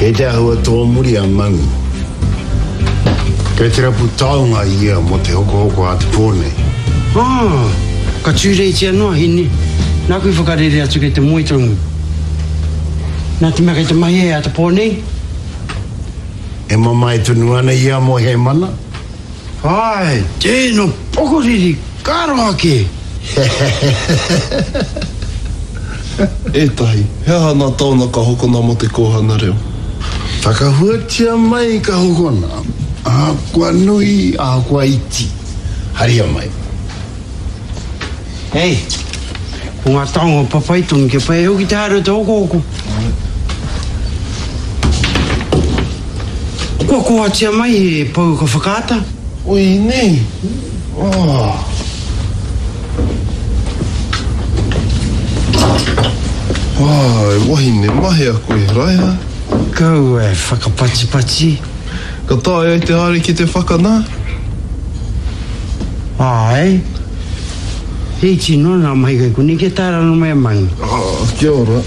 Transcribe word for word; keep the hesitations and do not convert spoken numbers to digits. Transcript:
Kei te āhua tōmuri a Mangu. Kei te rapu taonga ia mō te hokohoko a te pō nei. Ah, ka tūreitia noa, Hine. Nāku i whakarere atu kei te moe tonu. Nā te mea kei te mahi e a te pō nei. E mamae tonu ana ia mō Hēmana? Āe, tēnō pokoriri, ka roa kē! Ētahi, he aha nā taona ka hokona mō te kōhanga reo? Whakahuatia mai ka hokona, ahakoa nui, ahakoa iti, haria mai. Hei, ko ngā taonga papai tonu kia pai ai hoki te haere o te hokohoko. Kua kohatia mai he pouaka whakaata. Oi, nei! Oh. Oh, e wahine mahea koe, Raiha. Kaua e whakapatipati. Ka taea ai te haere ki te whakanā? Āe. He iti noa ngā mahi kei konei kia tae rānō mai a Mangu. Oh, kia ora.